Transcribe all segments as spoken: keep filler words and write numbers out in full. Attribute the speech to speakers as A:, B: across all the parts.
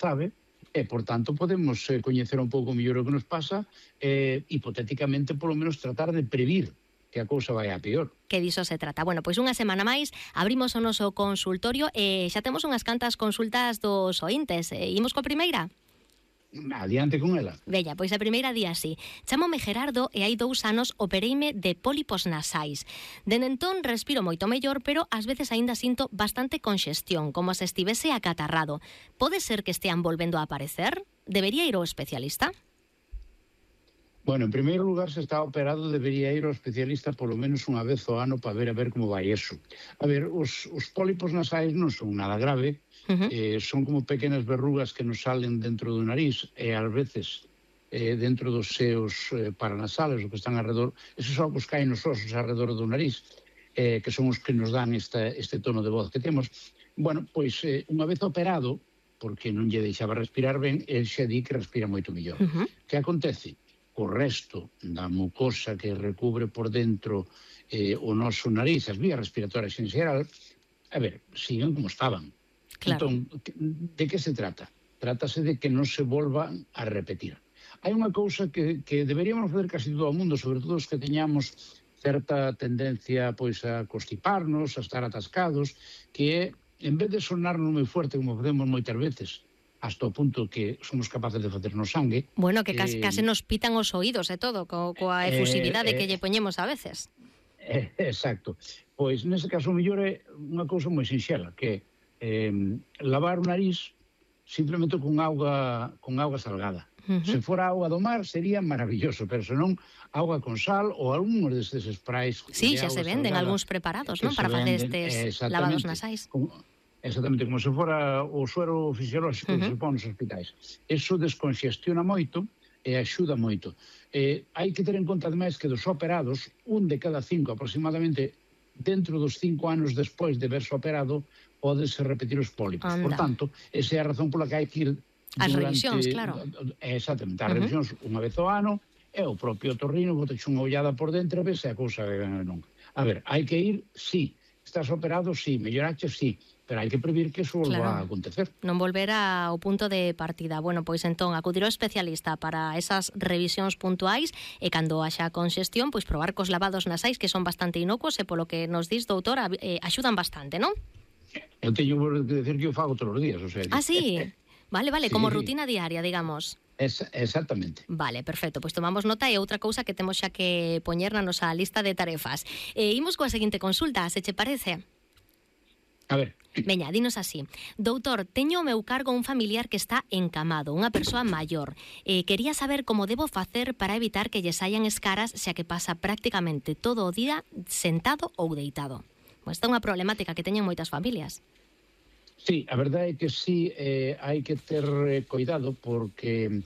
A: sabe, e, por tanto, podemos eh, coñecer un pouco mellor o que nos pasa e, hipotéticamente, polo menos, tratar de previr que a cousa vai a peor.
B: Que diso se trata. Bueno, pois unha semana máis abrimos o noso consultorio e xa temos unhas cantas consultas dos ointes. E imos coa primeira?
A: Adiante con ela.
B: Bella, pois a primeira día así. Chámome Gerardo e hai dous anos opereime de pólipos nasais. Dende entón respiro moito mellor, pero ás veces aínda sinto bastante conxestión, como se estivese acatarrado. Pode ser que estean volvendo a aparecer? Debería ir ao especialista?
A: Bueno, en primeiro lugar, se está operado, debería ir ao especialista polo menos unha vez ao ano para ver a ver como vai eso. A ver, os, os pólipos nasais non son nada grave, uh-huh. eh, son como pequenas verrugas que nos salen dentro do nariz e ás veces eh, dentro dos seus eh, paranasales, o que están alrededor, esos ovos caen nos osos alrededor do nariz, eh, que son os que nos dan esta, este tono de voz que temos. Bueno, pois eh, unha vez operado, porque non lle deixaba respirar ben, el xa di que respira moito mellor. Uh-huh. Que acontece? O resto da mucosa que recubre por dentro eh, o noso nariz, as vías respiratorias en xeral, a ver, siguen como estaban.
B: Claro.
A: Entón, de que se trata? Trátase de que non se volvan a repetir. Hai unha cousa que, que deberíamos fazer casi todo o mundo, sobre todo os que teñamos certa tendencia pois a constiparnos, a estar atascados, que é, en vez de sonarnos moi fuerte, como facemos moitas veces, hasta o punto que somos capaces de facernos sangue.
B: Bueno, que case,
A: eh,
B: case nos pitan os oídos e todo, co, coa efusividade eh, eh, que lle poñemos a veces.
A: Eh, exacto. Pois, nese caso, mellor é unha cousa moi sinxela, que é eh, lavar o nariz simplemente con auga, con auga salgada. Uh-huh. Se fora auga do mar, sería maravilloso, pero senón auga con sal ou algúns destes sprays.
B: Sí, xa se venden algúns preparados, non? Para facer estes lavados nasais.
A: Con, Exactamente, como se fora o suero fisiolóxico que uh-huh. se pon nos hospitais. Eso desconxestiona moito e axuda moito. Eh, hai que ter en conta, ademais, que dos operados, un de cada cinco aproximadamente, dentro dos cinco anos despois de verse operado, pódese repetir os pólipos. Anda. Por tanto, esa é a razón pola que hai que ir...
B: As revisións, claro.
A: Exactamente, as
B: uh-huh.
A: revisións unha vez ao ano, e o propio otorrino boteche unha ollada por dentro, a ver se a cousa non. A ver, hai que ir, sí. Estás operado, sí. Mellorache, sí. Pero hai que previr que eso volva claro. a acontecer.
B: Non volver ao punto de partida. Bueno, pois entón, acudir ao especialista para esas revisións puntuais e cando haxa conxestión, pois probar cos lavados nasais, que son bastante inocuos e polo que nos dis, doutora, eh, axudan bastante, non?
A: Eu teño que decir que eu fago todos os días, o sea...
B: Ah, sí? Vale, vale, sí. Como rutina diaria, digamos.
A: Es, exactamente.
B: Vale, perfecto, pois tomamos nota e outra cousa que temos xa que poñer na nosa lista de tarefas. Eh, imos coa seguinte consulta, se che parece?
A: A ver.
B: Veña, dinos así. Doutor, teño ao meu cargo un familiar que está encamado, unha persoa maior. Eh, quería saber como debo facer para evitar que lle saian escaras xa que pasa prácticamente todo o día sentado ou deitado. Pois esta é unha problemática que teñen moitas familias.
A: Sí, a verdade é que sí, eh, hai que ter eh, cuidado porque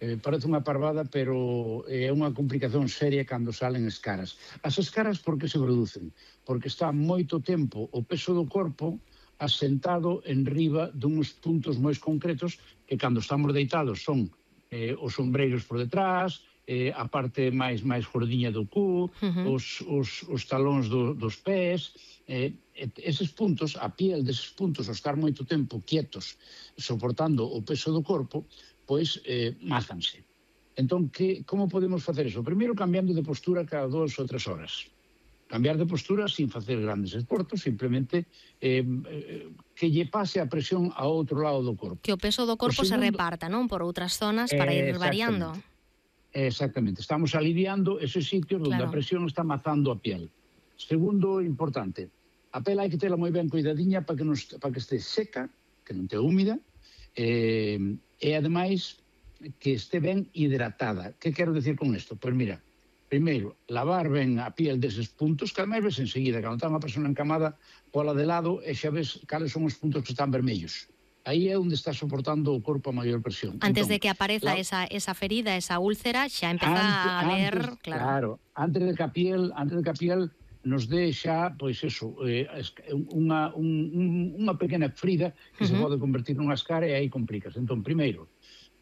A: eh, parece unha parvada, pero é eh, unha complicación seria cando salen escaras. As escaras por que se producen? Porque está moito tempo o peso do corpo asentado en riba duns puntos moi concretos que cando estamos deitados son eh, os ombreiros por detrás, eh, a parte máis máis gordiña do cu, uh-huh. os, os, os talóns do, dos pés, eh, eses puntos, a piel deses puntos, ao estar moito tempo quietos, soportando o peso do corpo, pois eh, mázanse. Entón, que, como podemos facer eso? Primeiro, cambiando de postura cada dúas ou tres horas. Cambiar de postura sin facer grandes esforços, simplemente eh, eh, que lle pase a presión a outro lado do corpo.
B: Que o peso do corpo segundo, se reparta, non? Por outras zonas para ir variando.
A: Exactamente. Estamos aliviando esos sitios onde claro. a presión está mazando a piel. Segundo, importante, a pela hai que tela moi ben cuidadiña para que, nos, para que este seca, que non te húmida, eh, e ademais que este ben hidratada. Que quero decir con isto? Pois mira, primeiro, lavar ben a piel deses puntos, que ademais ves enseguida, cando está unha persona encamada pola de lado, e xa ves cales son os puntos que están vermellos. Aí é onde está soportando o corpo a maior presión.
B: Antes
A: entón,
B: de que apareza la... esa, esa ferida, esa úlcera, xa empeza antes, a ver...
A: Antes,
B: claro.
A: claro, antes de que a piel, antes de que a piel nos dé xa, pois eso, eh, unha, un, unha pequena frida que uh-huh. se pode convertir nunha escara e aí complicas. Entón, primeiro,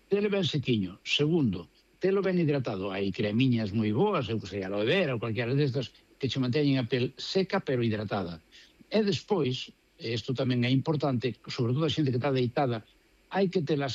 A: tele ben sequiño. Segundo, telo ben hidratado. Hai cremiñas moi boas, eu que sei, aloe vera ou cualquiera destas, que che manteñen a pel seca pero hidratada. E despois, isto tamén é importante, sobre todo a xente que está deitada, hai que telas